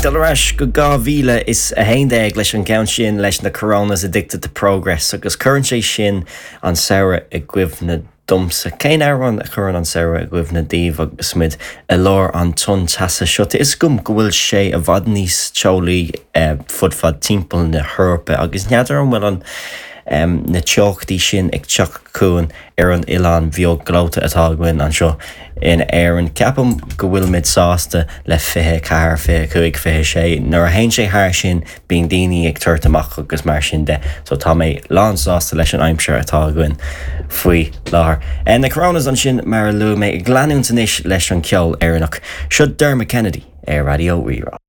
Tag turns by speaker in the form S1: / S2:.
S1: Dul ar ais go 2011 leis an gceann sin leis na Coronas Addicted to Progress agus cuireann sé sin an samhradh i gcuimhne domsa. Cén amhrán a chuireann an samhradh i gcuimhne daoibh agus muid i lár an tonn teasa seo? Tá 'fhios agam go bhfuil sé i bhfad níos teolaí fud fad timpeall na hEorpa agus n'fheadar an bhfuil an na teochtaí sin ag teacht chugainn ar an oileán bheag gleoite atá againn anseo in Éirinn. Ceapaim go bhfuilimid sásta le 24, 25, 26. Nuair a théann sé thar sin bíonn daoine ag tabhairt amach agus mar sin de. So tá mé lán sásta leis an aimsir atá againn faoi láthair. Na Coronas ansin mar a luaigh mé ag leanúint anois leis an ceol Éireannach. Seo Dermot Kennedy ar Raidió Rí-Rá.